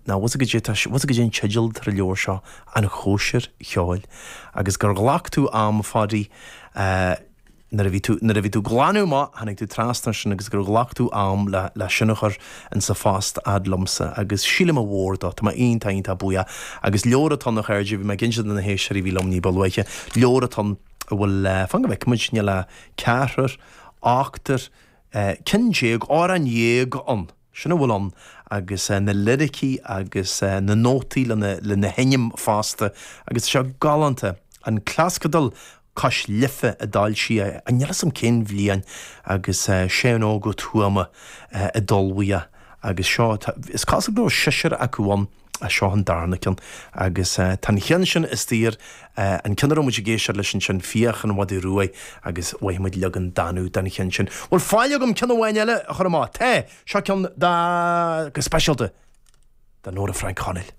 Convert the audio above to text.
Ná bhfuil 's agat goidé, bhfuil 's agat goidé an teideal atá ar an leabhar seo, An Chóisir Cheoil. Agus gur ghlac tú am, a Pháidí, nuair a bhí tú, nuair a bhí tú ag glanadh amach, tháinig tú trasna air sin agus gur ghlac tú am le, le sin a chur in sa phost fhad liomsa agus sílim a mhór dó, tá mé iontach, iontach buíoch. Agus leabhar atá ann a chairde, bhí mé ag inse do na héisteoirí a bhí liom ní ba luaithe, leabhar atá ann a bhfuil, fan go bhfeicfidh muid, níl ach ceathrar, ochtar, ceann déag, amhrán dhéag ann. Sin a bhfuil ann, agus na liricí agus na nótaí lena sheinm fosta, agus tá sé galánta. An Clapscadal Cois Life a d'fhoilsigh é, níl 'fhios a'm cén bhliain, agus Seán Óg Ó Tuama a d'ullmhaigh é. Agus seo, is cosúil go raibh seisear acu ann. Seo an darna ceann. Agus tá an cheann sin istigh ar an ceann a raibh muid ag éisteacht leis ansin, Fiach an Mhadaidh Ruaidh, agus mhaith muid leagan Danú den cheann sin. Bhfuil faill agam ceann amháin eile a chur amach? Tá! Seo ceann do, go speisialta, do Nóra Frainc Chonaill.